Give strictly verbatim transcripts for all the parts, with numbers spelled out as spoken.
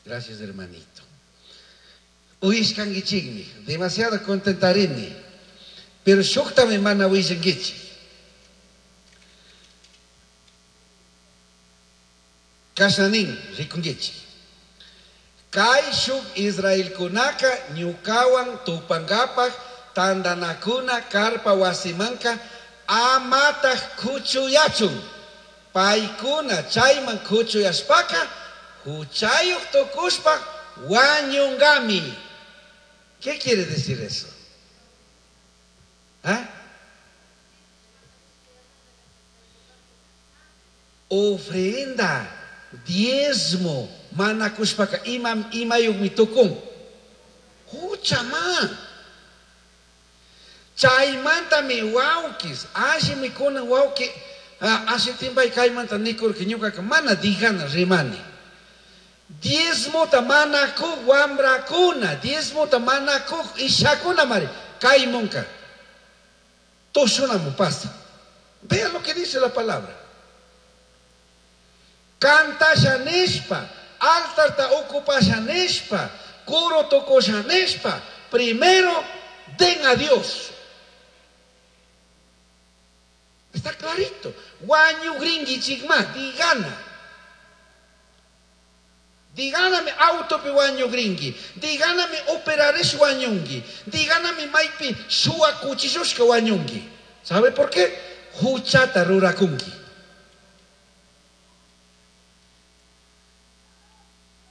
Gracias, hermanito. Uyishkankichikmi, demasiado contentarini. Pero shuktami mana willankichik. Kashanin rikunkichik. Kay shuk Israelkunaka ñukawan tupangapaj tandanakuna karpa wasimanka amataq kuchuyachun. Paykuna chayman kuchuyashpaka huchayuq tukushpa wañungami. ¿Qué quiere decir eso? ¿Ah? Ofrenda, diezmo, manakushpaka imam imayuqmi tukun. Huchama. Chaymantami wawkis, allimi kunan wawki, ashitimpay kaymanta nikurki ñuqaka mana dijana rimani. Diezmota manakuq wamrakuna, diezmota manakuq ishakuna mari, kaymunka. Tushunamu pasa. Vean lo que dice la palabra. Cantasha nishpa, altarta ocupasha nishpa, curo tocosha nishpa, primero den a Dios. Está clarito. Wañugrinkichikma, digana. Diganami autopi wañugrinki, diganami operarish wañunki, diganami maypi shuwa kuchishushka wañunki. ¿Sabe por qué? Huchata rurakunki.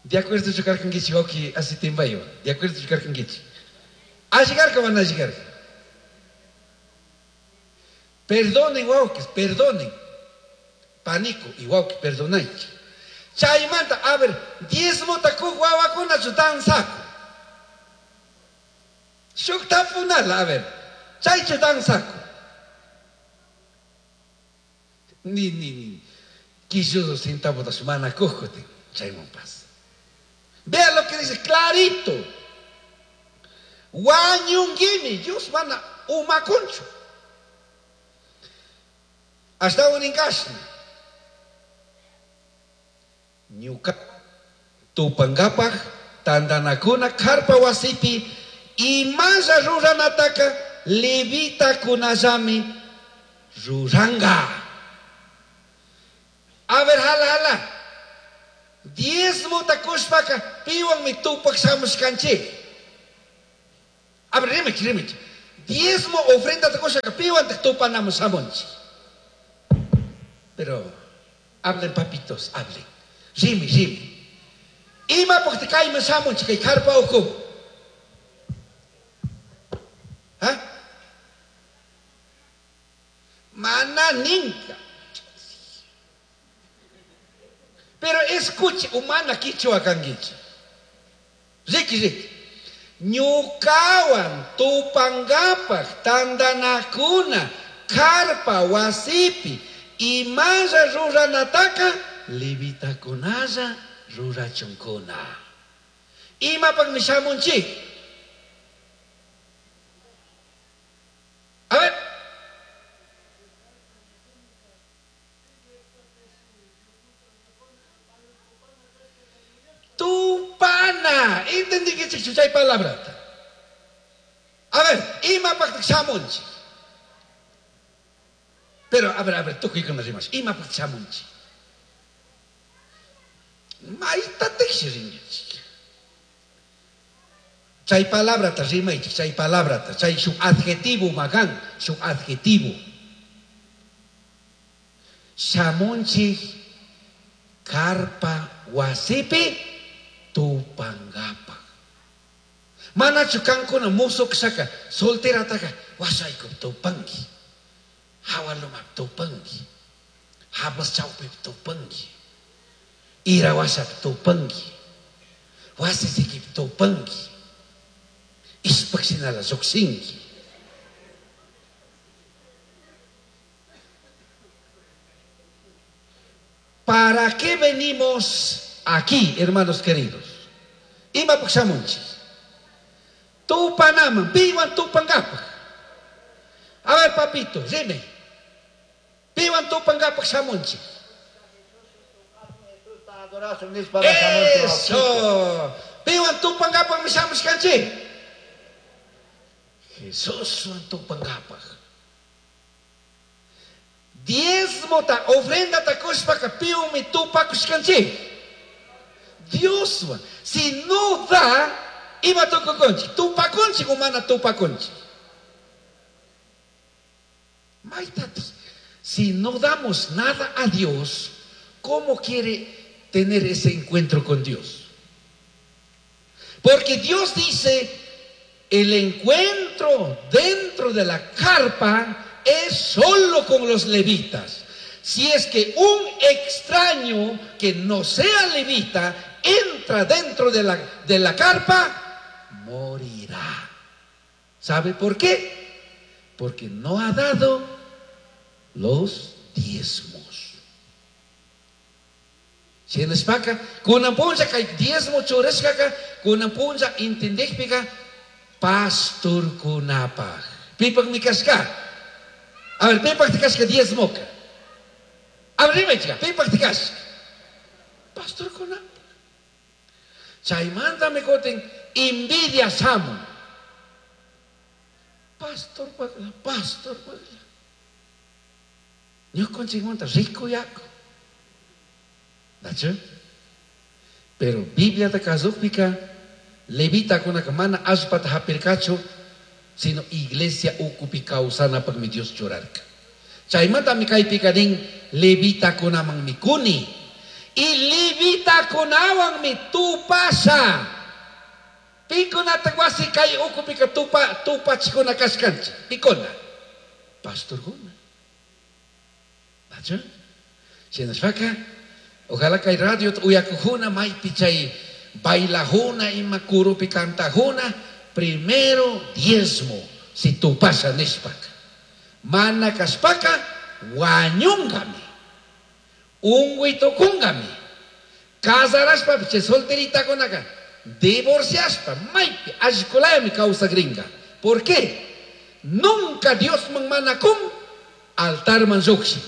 De acuerdo chukarkankichik wawki asitimbayo. De acuerdo chukarkankichik. ¿Alligarka van a llegar? Perdonen, wawkis, perdonen. Pánico y wawki, perdonaychik. Chaymanta, a ver, diezmota kuq wawakunachu danzaku. Shuk tapunala, a ver, chaychu danzaku. Ni, ni, ni. Quilludo centavotash mana kuqkutin, chayman pasa. Vean lo que dice, clarito. Wañunguimi, Dios mana umakunchu. Hasta un inkashna. Ñuka tupangapaj tandanakuna karpa wasipi imalla ruranataka levitakunallami ruranga. A ver, jala, jala. Diezmota kushpaka piwanmi tupak shamushkanchik. A ver, rimich, rimich. Diezmo ofrenda kushpaka piwantaq tupanamun shamunchik. Pero hablen, papitos, hablen. Rimi, rimi. Ima porque kayman shamunchik kay karpa uku. ¿Ah? Mana ninka. Pero escuche, humana kichwa kankichik. Riki, riki. Ñukawan tupangapaj tandanakuna karpa wasipi imalla ruranataka levitakunalla rurachunkuna. Imapaqmi shamunchik. A ver. Tupana. Entendí que chay palabrata. A ver, imapaqtaq shamunchik. Pero, a ver, a ver, tukuykuna rimash. Imapaqtaq shamunchik. Maytataqshi rinkichik. Chay palabrata rimaychik, chay palabrata, chay shuk adjetivo magan, shuk adjetivo. Shamunchik karpa wasipi tupangapaj. Manachu kankuna musuqshaka solterataka wasaykup tupanki, hawalumap tupanki, hablas chawpip tupanki, ira wasap tupanki, wasisikip tupanki, ishpaqshinala lluqshinki. ¿Para qué venimos aquí, hermanos queridos? Imapaq shamunchik. Tupanaman, piwan tupangapaj. A ver, papito, dime. Piwan tupangapaj shamunchik. Adorasun nishpa shamunchik. Eso. Piwan tupangapaqmi shamushkanchik. Jesuswan tupangapaq. Diezmota, ofrendata kushpaka piwanmi tupakushkanchik. Dioswan. Si no da, ima tukukunchik. Tupakunchik o mana tupakunchik. Maitati, si no damos nada a Dios, ¿cómo quiere tener ese encuentro con Dios? Porque Dios dice, el encuentro dentro de la carpa es solo con los levitas. Si es que un extraño que no sea levita entra dentro de la, de la carpa, morirá. ¿Sabe por qué? Porque no ha dado los diezmos. Shinashpaka, kunan punlla kay diezmo churashkaka, kunan punlla entendekpika pastorkunapaj. Pipakmi kashka. A ver, pipakti kashka diezmoka. A ver, rimaychika, pipakti kashka. Pastorkunapaj. Chaymantami kutin envidia shamun. Pastor pagla, pastor pagla. Ñukanchikmanta rico yaku. Nachu? Pero Bibliata kasukpika levitakunaka mana allpata hapirkachu, sino iglesia ukupi kawsanapakmi Dios churarka. Chaymantami kaypika nin levitakunamanmi kuni. Y levitakunawanmi tupasha. Pikunata wasi kay ukupika tupa tupachikuna kashkanchik. Pikuna. Pastorkuna. Nachu? Shinashpaka, ojalá kay radio uyakujuna maypi chay bailajuna ima kurupi kantajuna, primero diezmo si tupasha nishpaka. Mana kashpaka wañungami. Unguitokungami. Casarashpa chay solteritakunaka divorciashpa maypi allkulayami kawsakrinka. ¿Por qué? Nunca Dios man mana kun altar man llukshin.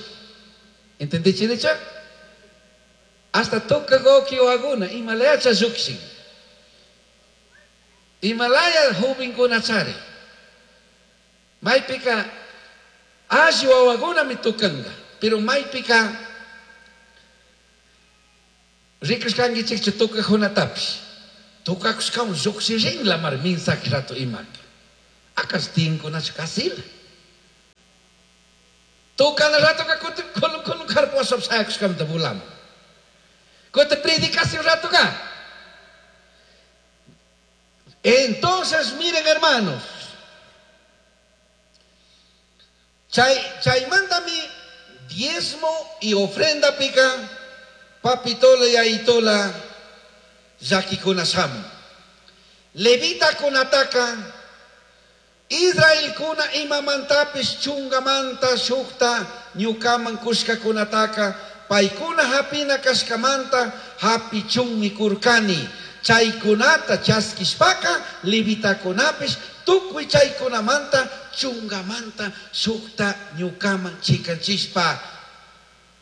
¿Entendiste, Decha? Hasta toca goki o aguna, Himalaya llukshin. Himalaya jovenkuna chari. Maypika alli wawakuna mi tukanga, pero maypika rikushkankichikchu tukajunatapish. Tukakushkawan llukshirinla mar mensaje rato imaka. Akas tinkunachu kasila. Tukana rato ka kuti kulun kulun karpuasap sayakushkamanta vulamun. Kuti predicación rato ka. Entonces, miren, hermanos, chay, chaymantami diezmo y ofrenda pica, papitola y aitola, llakikuna shamun. Levita kunataka, Israel kuna imamantapish chungamanta shukta ñukaman kushkakunataka, paykuna hapina kashkamanta hapichunmi kurkani. Chaykunata chaskishpaka levitakunapish tukuy chaykunamanta chungamanta shukta ñukaman chikanchishpa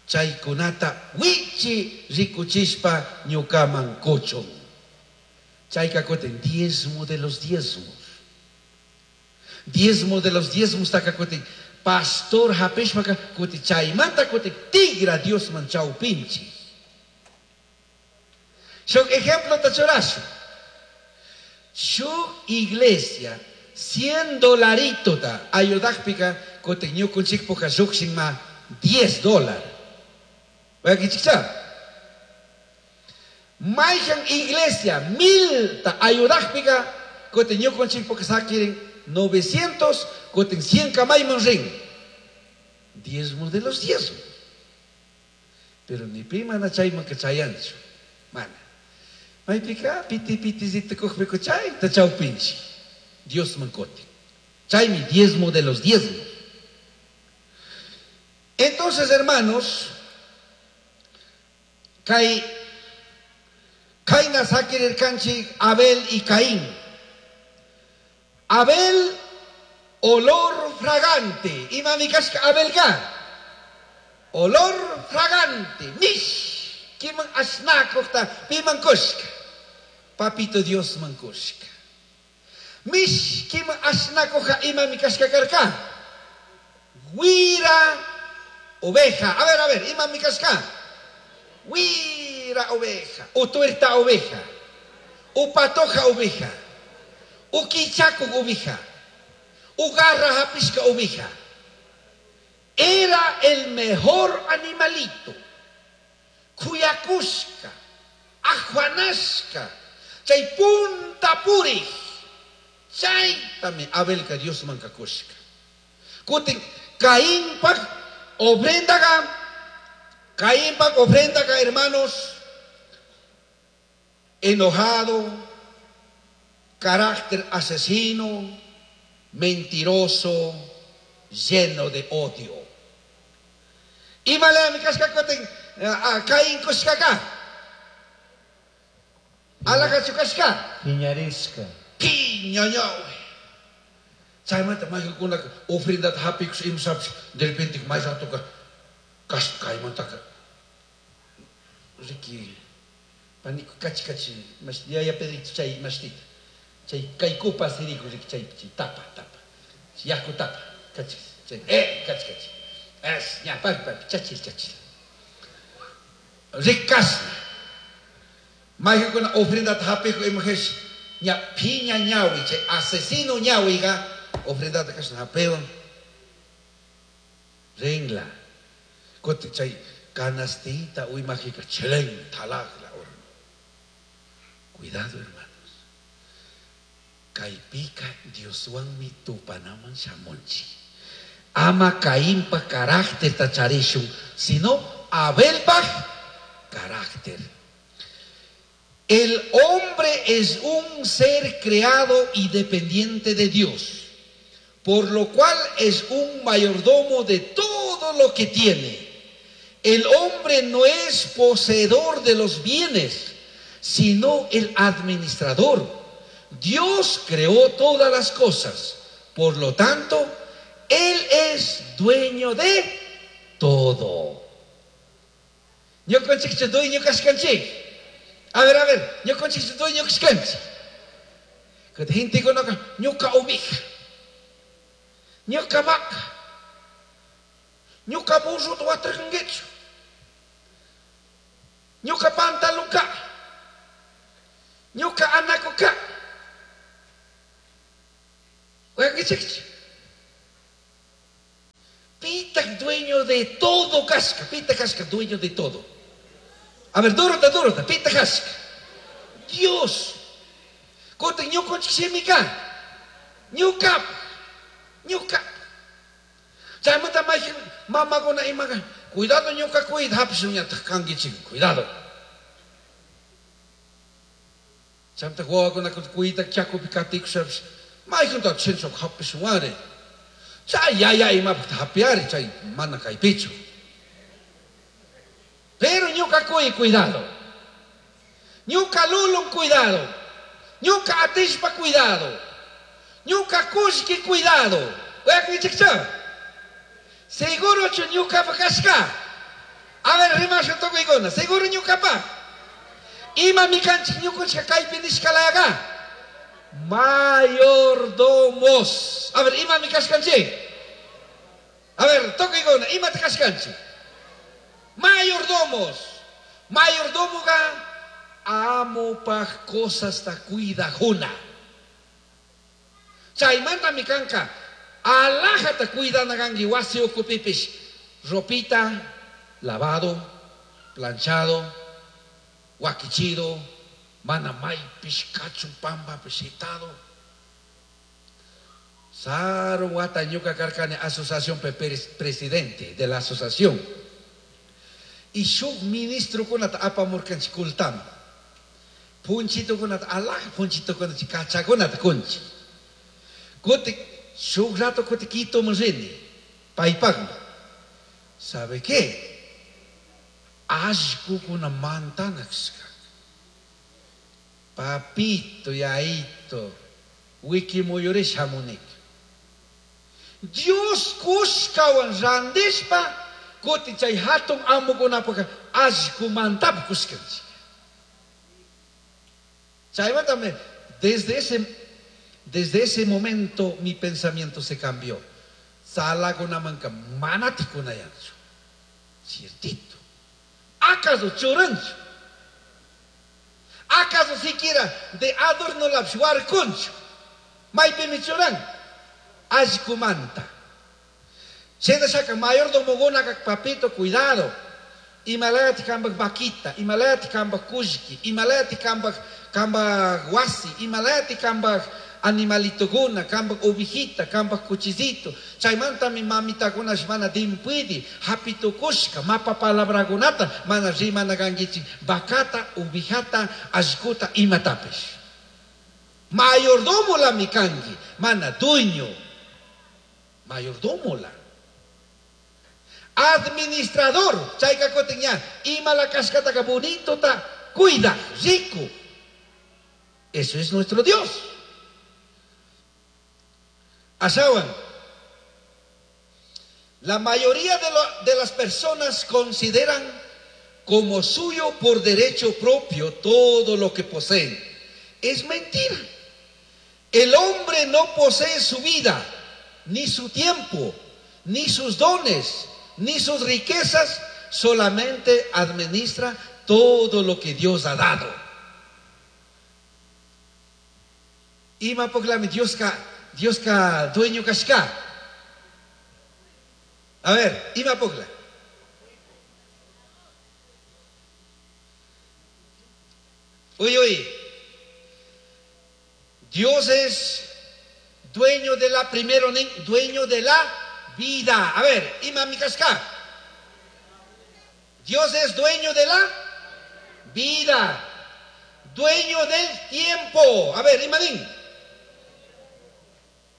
chaykunata wichi rikuchishpa ñukaman kuchun. Chayka kutin diezmo de los diezmos. Diezmo de los diezmos taka kutin pastor hapishpaka kutin chaymanta kutin tigra Diosman chawpinchi. Shuk ejemplo tachurashu. Shuk iglesia cien dolarito ta ayudakpika kutin ñukunchikpuka llukshinma diez dólar. Wakichikcha. Mayhan iglesia mil ta ayudakpika kutin ñukunchikpuka sakirin novecientos kutin cien kamayman rin. Diezmo de los diezmos. Pero ni pi mana chayman ka chayanchu. Mana. Maypika piti piti zita kujpika chay ta chawpinchi. Dios mancote. Chaymi diezmo de los diezmos. Entonces, hermanos, kay kayna sakirirkanchik Abel y Caín. Abel, olor fragante. Imami kashka Abel ka. Olor fragante. Mish. Mishkiman ashnakukta piman kushka. Papito Dios man kushka. Mishkiman ashnakuja imami kashka karka. Wira oveja. A ver, a ver, imami kashka. Wira oveja. O tuerta oveja. O patoja oveja. O kichaku oveja. O garra japishka oveja. Era el mejor animalito. Kuyakushka, ajuanashka, chay punta purij. Chaytami Abelka Dios mankakushka. Kutin Caínpak ofrendaga, Caínpak ofrendaga, hermanos, enojado, carácter asesino, mentiroso, lleno de odio. Imale mi kashka kutin Caín kushkaka. Alaka kashka. Piñarisca. Piñañawe. Chaymanta mayqinkunaka ofrendata hap'ikus imsapish de repente may ratoka kashka kaymantaka riki paniku kachi kachi mash yaya Pedrito chay mashtita chay kaykupa siriku riki chay tapa tapa yaku tapa kachi chay eh kachi kachi es ña papi papi chachil chachil rikasna mayqinkuna ofrendata hap'iku imajesh ña piña ñawi chay asesino ñawiga ofrendata kashna hapewan ringla kuti chay canastita uymajika chelen talagla horno. Cuidado, hermanos. Kaypika Dioswanmi tupanaman shamunchik. Ama Caínpa carácter tacharishun, sino Abelpa carácter. El hombre es un ser creado y dependiente de Dios, por lo cual es un mayordomo de todo lo que tiene. El hombre no es poseedor de los bienes, sino el administrador. Dios creó todas las cosas, por lo tanto, Él es dueño de todo. Ñukanchikchu dueño kashkanchik. A ver, a ver, ñukanchikchu dueño kashkanchik. Gentekunaka ñuka oveja, ñuka vaca, ñuka burruta watarkankichu, ñuka pantalonka, ñuka anakuka. Pita dueño de todo kashka, pita kashka dueño de todo. A ver, durota, durota, pita kashka. Dios. Kutin ñukanchik shimika. Ñuka, ñuka. Chaymanta mayqin mamakuna imaka, cuidado ñuka cuida hapishunñataq kankichik, cuidado. Chaymanta wawakuna cuida chakupi katikushapish, mayqinta chinchuk hapishunwari. Chay yaya imapaq hapiari, chay mana kaypichu. Pero ñuka cuy, cuidado. Ñuka lulun, cuidado. Ñuka atishpa, cuidado. Ñuka kushki, cuidado. Seguro chu ñuka kashka. A ver, rimasha tukuykuna. Seguro ñukapa. Ima mikanchik ñukunchika kaypi nishkalaga. Mayordomos. A ver, ima mikashkanchik. A ver, tukuykuna. Imata kashkanchik. Mayordomos. Mayordomoga amopaj cosas ta cuidajuna. Chaymanta mikanka alajata cuidana kanki wasi ukupipish. Ropita lavado, planchado, wakichido, mana maypish kachun pampapish shitado. Saru wata ñuka karkani asociación presidente de la asociación. Y shuk ministro kunata apamurkanchik kultama. Punchito kunata alaj punchito kunata kachakunata kunchi. Kuti shuk rato kuti Quitoman rini paypaqmi. ¿Sabe qué? Allqukuna mantanakshka. Papito, yaito, wikimuyurish hamunik. Dios kushkawan randishpa kuti chay hatun amukunapaq Allqumantapis kushkanchik. Chaymantami desde ese, desde ese momento mi pensamiento se cambió. Tzalakunamanka manatik kunayanchu. Ciertito. ¿Acaso churanchu? ¿Acaso siquiera de adorno lapis warkunchu? Maypimi churan? Allqumanta. Shinashaka mayordomokunaka papito, cuidado. Imalayati kambak vaquita, imalayati kambak kullki, imalayati kambak kambak wasi, imalayati kambak animalitokuna, kambak ovejita, kambak cuchicito. Chaymantami mamitakuna mana dimpuidi, hapitukushka, mapa palabrakunata, mana rimana kankichik, vacata, ovejata, allquta, imatapish. Mayordomo la mi kanki, mana dueño. Mayordomo la. Administrador, chayka kutin ña, ima la kashkataka bonito ta, cuida, rico. Eso es nuestro Dios. Asawan, la mayoría de, lo, de las personas consideran como suyo por derecho propio todo lo que poseen. Es mentira. El hombre no posee su vida, ni su tiempo, ni sus dones, ni sus riquezas, solamente administra todo lo que Dios ha dado. Ima poklami Dios ka, Dios ka dueño kashka. A ver, ima pokla. Uy, uy. Dios es dueño de la primero, dueño de la vida. A ver, ima mi kashka. Dios es dueño de la vida, dueño del tiempo. A ver, imanín.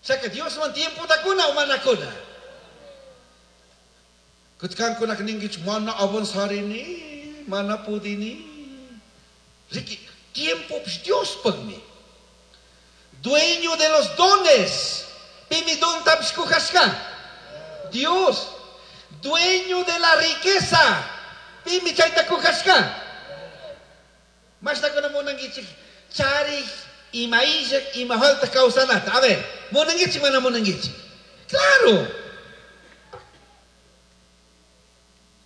O sea que Dios man tiempo takuna o manakuna. Kutkan kuna ningi mana avanzarini, mana pudini. Riki, tiempo pues Dios pagmi. Dueño de los dones. Pimi don tapskujaska. Dios, dueño de la riqueza. Pimi chayta kujaska. Mashta kuna munangichik chari imaishak ima falta kawsanata. A ver, munangichik mana munangichik. Claro.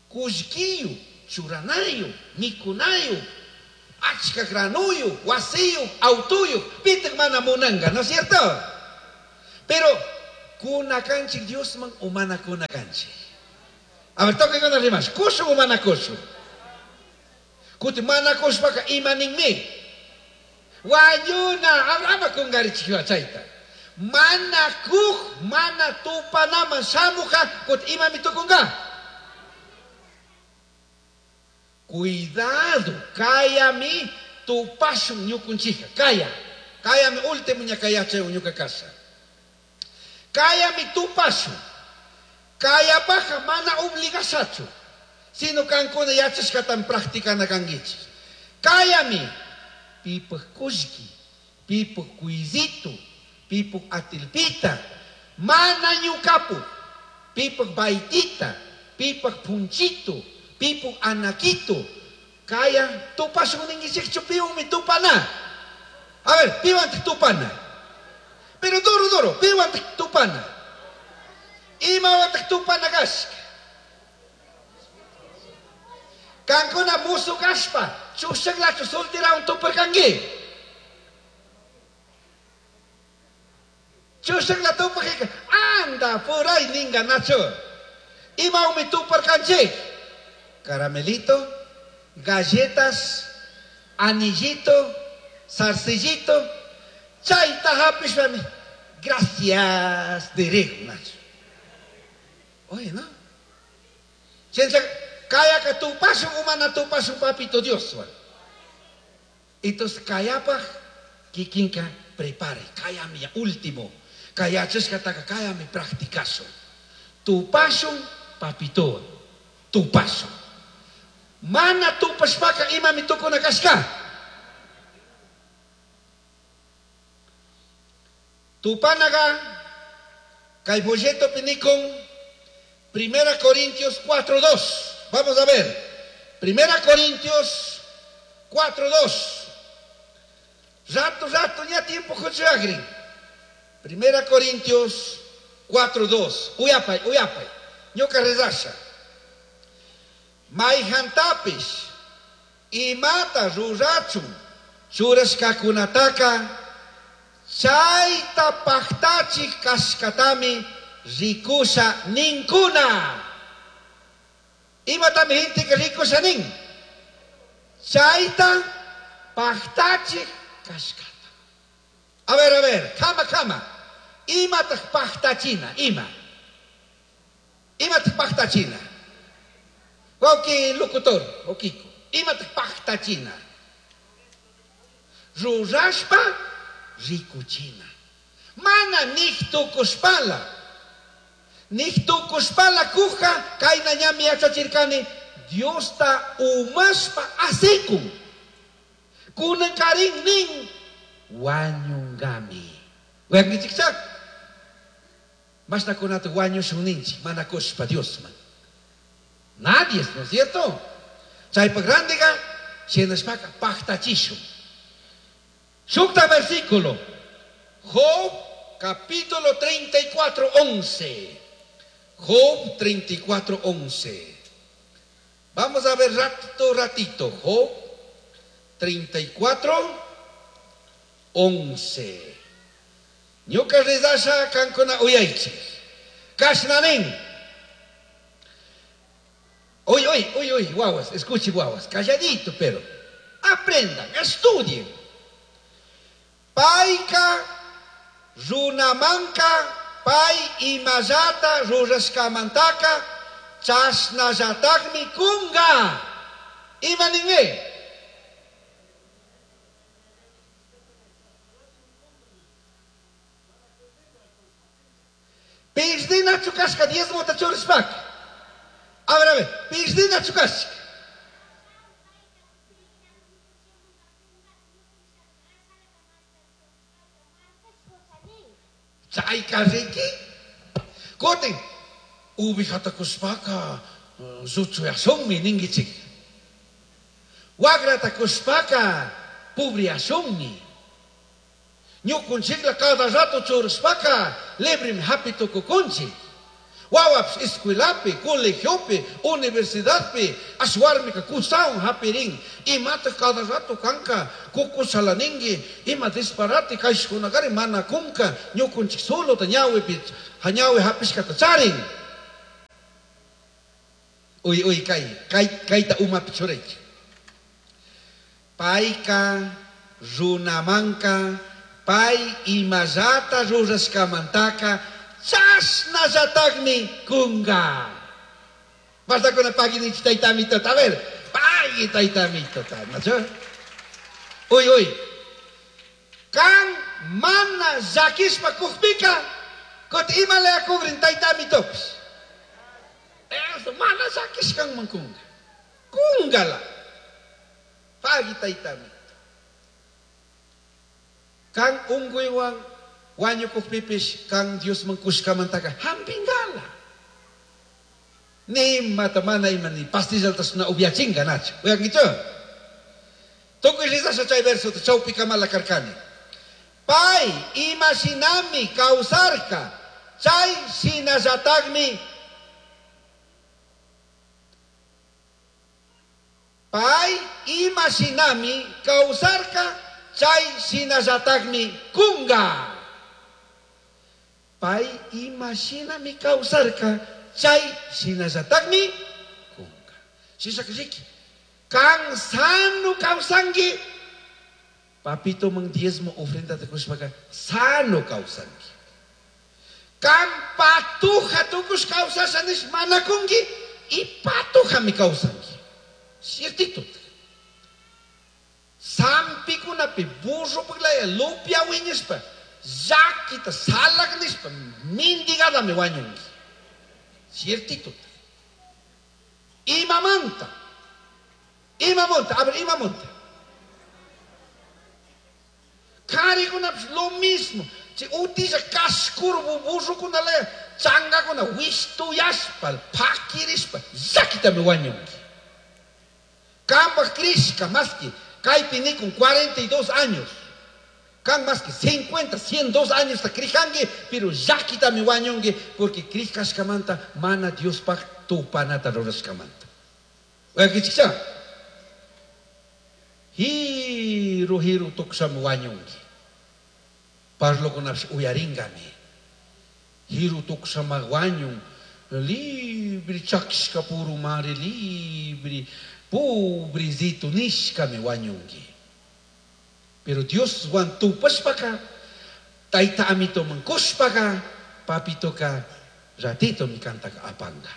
Kullkiyu, churanayu, mikunayu, achka granuyu, wasiyu, autuyu, pitik mana munanga, ¿no es cierto? Pero kunakanchik Diosman o mana kunakanchik. A ver, toque con las rimas. Kushu o mana kushu. Kuti mana kushpaka imaninmi. Wayuna, abrama kungarichik chayta. Mana kuj, mana tupanaman shamuja, kuti imami tukunga. Cuidado, kayami tupashun ñukunchija, kaya. Kayami último ñakayachay ñuka casa. Kayami tupashun. Kaya paja mana obligasachu. Sino kankuna yachashkatan practicana kankichik. Kayami pipaj kullki, pipaj kuizito, pipaj atilpita, mana ñukapu, pipaj baitita, pipaj punchito, pipaj anaquito. Kaya tupashun ninkichikchu piwanmi tupana. A ver, piwantik tupana. Pero duro duro, piwantik tupana. Imawantik tupana kashka. Kankuna musu kashpa, chushaklachu solterawan tuparkanki. Chushakla tupakika, anda por ahí ninga nacho. Imawanmi tuparkanchik. Caramelito, galletas, anillito, zarcillito, chayta hapishpami. Gracias, diré, Nacho. Oye, ¿no? Chencha, kaya ka tupashun umana tupashun papito Dios. Entonces, kayapaj, kikinka, prepare. Kaya mi último. Kaya cheshkataka, kaya mi practicaso. Tupashun, papito. Tupashun. Mana tupashpaka imami tukuna kashka. Tupanaga, kay folleto pinikon, Primera Corintios cuatro dos. Vamos a ver. Primera Corintios cuatro dos. Rato, rato, ya tiempo kuchagrin. Primera Corintios cuatro dos. Uyapay, uyapay. Ñuka rezasha. Maijantapish imata rurachun churashkakunataka chayta pajtachik kashkatami rikusha ninkuna. Imatami gente que rikusha nin. Chayta pajtachik kashkata. A ver, a ver, kama, kama. Imataq pajtachina, ima. Imataq pajtachina. Wauki locutor, okiko. Imataq pajtachina. Rurashpa rikuchina. Mana nihtukushpala. Nihtukushpala kuja kayna ñami yachachirkani Diosta umashpa asikun. Kunankarin nin wañungami. Wañungichikchak. Mashnakunata wañushun ninchik mana kushpa Diosman. Nadie, ¿no es cierto? Chaypa grandiga shinashpaka pajtachishun. Shukta versículo. Job capítulo treinta y cuatro, once. Job treinta y cuatro, once. Vamos a ver ratito, ratito. Job treinta y cuatro, once. Ñuka rezasha kankuna uyaychik. Kashnanin. Uy, uy, uy, uy, guaguas, escuche guaguas, calladito, pero aprendan, estudien. Paika, runamanka, pay imallata rurashkamantaka, chashnallatakmi kunga. Ima ninmi? Pirdina chukashka diezmota churishpaka. A ver, a ver, pirdina chukashka. Chayka riki. Kutin, ubijata kushpaka, zuchuyashunmi ningichik. Wagrata kushpaka, pubriashunmi. Ñukunchikla cada rato churishpaka, libremi hapi tukukunchik. Wawapish escuelapi, colegiopi, universidadpi, ashwarmika kusawan hapirin. Imata cada rato kanka, kukusalaningi, ima disparate kayshkunakari mana kunka, ñukunchik solo ta ñawipi, hañawi hapishkata charin. Uy, uy, kay, kay, kayta umapi churaychik. Payka, runamanka, pay imallata rurashkamantaka, chashnallatakmi kunga. Basta con pagui ninchik taytamitota. A ver, pagui taytamitota, ¿no? Uy, uy. Kan mana llakishpa kukpika, kuti imala kugrin taytamitopish. Eso, mana llakishkanman kunga. Kungala. Pagui taytamito. Kan unguywan wañukukpipish kan Diosman kushkamantaka hampingala. Ni mata mana ima ni pastillaltas na upiachinga nacho. Uyankichu? Tukuy rizasha chay verso chawpi kamala karkani. Pay ima shinami kawsarka chay shinallatakmi pay ima shinami kawsarka chay shinallatakmi kunga. Pay ima shinami kawsarka chay shinallatakmi kunga. Shishakashiki kan sano kawsanki papito mang diezmo ofrenda te kushpaka sano kawsanki. Kan patuja tukush kawsasha nish manakunki y patujami kawsanki. Ciertito. Sampikunapi burro paglaya lupia wiñishpa llakita salak nishpa mendigadami wañunki. Ciertito. Imamanta. Imamonta, a ver, imamonta. Karikunapish lo mismo. Chay utilla kashkuru burrukunalaya changakuna wishtuyashpa pakirishpa llakitami wañunki. Kambaj krishka maski kaypi nikun cuarenta y dos años. Kan maski cincuenta, cien dos años ta krijanki, pero llakitami wañunki porque krishkashkamanta mana Diospaj tupanata rurashkamanta. Uyakichikcha? Hiru hiru tuksami wañunki. Parlokunapish uyaringami. Hiru tuksama wañun, libre chakishka puru mari libre, pobrecito nishkami wañunki. Pero Dios wan tupashpaka, tayta amitoman kushpaka, papitoka ratito mi kantaka apanga.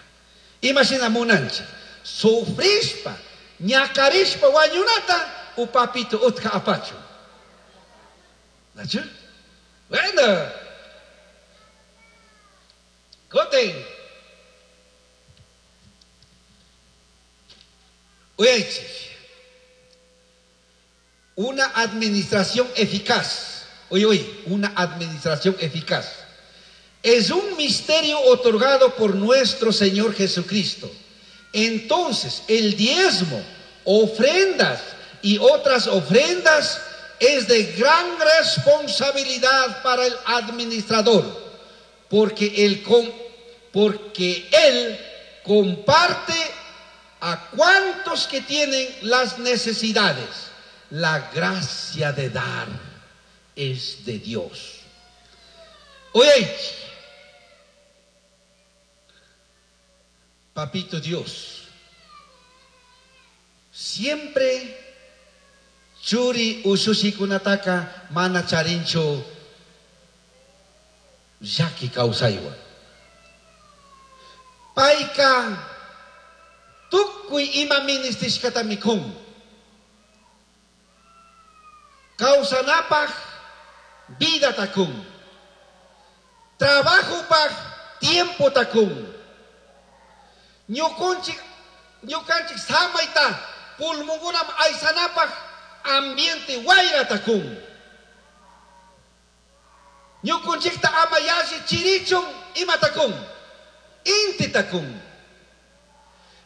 Imashina munanchik, sufrishpa, ñakarishpa wañunata, u papito utka apachun. ¿Nachu? Bueno. Koten. Uyaychik. Una administración eficaz. Oye, oye, una administración eficaz. Es un misterio otorgado por nuestro Señor Jesucristo. Entonces, el diezmo, ofrendas y otras ofrendas es de gran responsabilidad para el administrador, porque él, porque él comparte a cuantos que tienen las necesidades. La gracia de dar es de Dios. Oye, papito Dios, siempre churi usushikunataka mana charinchu llaki kawsaywan. Payka tukuy ima ministishkata mikun. Kawsanapaj vida takun. Trabajopaj tiempo takun. Ñukunchik, ñukanchik samayta pulmongunam aysanapaj ambiente wayra takun. Ñukunchikta ama yalli chirichun ima takun. Inti takun.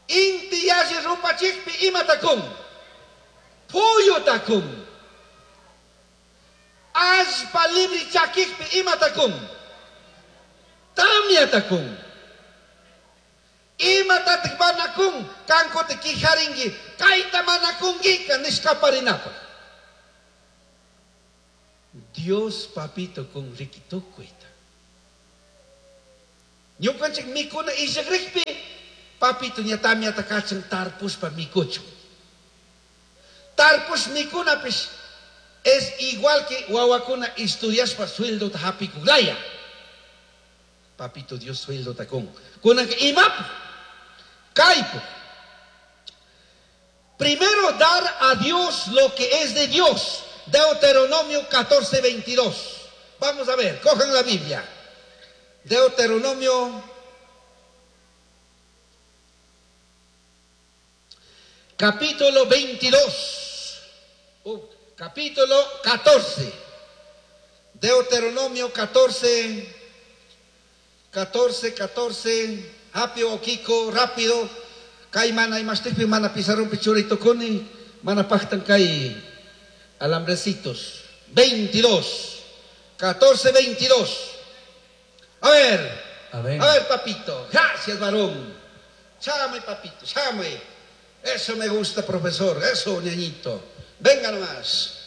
Inti yalli rupachikpi ima takun. Puyu takun. Allpa libre chakikpi ima takun. Tamya takun. Imatatik manakun, kankote kijaringi, kaita manakungika nishkaparinapa. Dios papito con rikitukuita. Ñukanchik mikuna ishakrikpi, papito ña tamyata kachan tarpushpa mikuchun. Tarpush mikunapish es igual que wawakuna estudiashpa sueldota hapikuglaya. Papito Dios sueldota con. Kunanka imapu, kaipu. Primero dar a Dios lo que es de Dios. Deuteronomio catorce, veintidós. Vamos a ver, cojan la Biblia. Deuteronomio capítulo veintidós. Uh, capítulo catorce. Deuteronomio catorce, catorce, catorce. Apio, Kiko, rápido. Kai mana imashtikpi mana pizarrón pichurito kuni, mana pachtan kai alambrecitos. veintidós, catorce, veintidós. A ver, A ver. a ver, papito. Gracias, varón. Chame, papito, chame. Eso me gusta, profesor. Eso, ñañito. Venga nomás.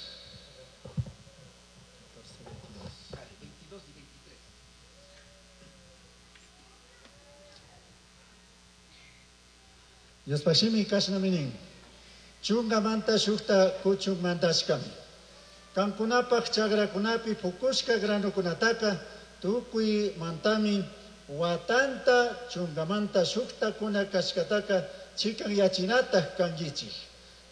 Diospashimi kashnaminin. Chungamanta shukta kuchun mandashkami. Kankunapaj chagrakunapi pukushka granukunataka tukuy mantami watanta chungamanta shukta kuna kashkataka chikan yachinataj kankichik.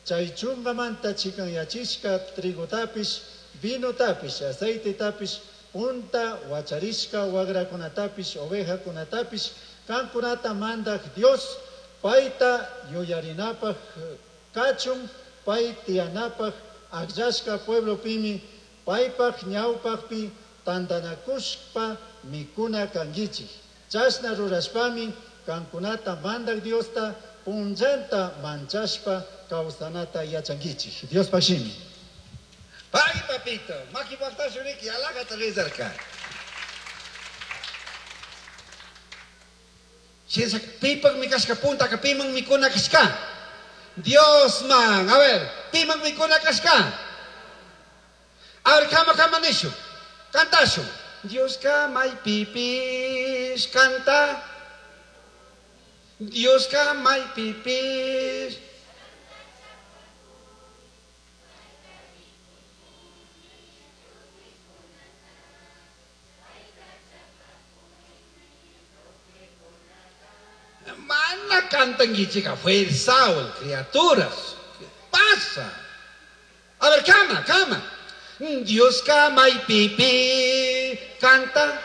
Chay chungamanta chikan yachishka trigotapish, vinotapish, aceitetapish, punta wacharishka wagrakunatapish, ovejakunatapish, kankunata mandaj Dios payta yuyarinapaj kachun, pay tiyanapaj akllashka pueblopimi, paypaj ñawpajpi tantanakushpa mikuna kankichik. Chashna rurashpami kankunata mandaj Diosta punllanta manchashpa kawsanata yachankichik. Diospaj shimi. Pagui, papito. Maki pajtashuriki, alajata rezarka. Shinsa pipak mi kashka puntaka piman mikuna kashka. Dios man, a ver, piman mikuna kashka. A ver, kama kama nishu. Cantashu. Dios kama y pipis canta. Dios kama y pipis. Mana cantan chica fuerza, criaturas. ¿Qué pasa? A ver, cama, cama. Dios cama y pipí canta.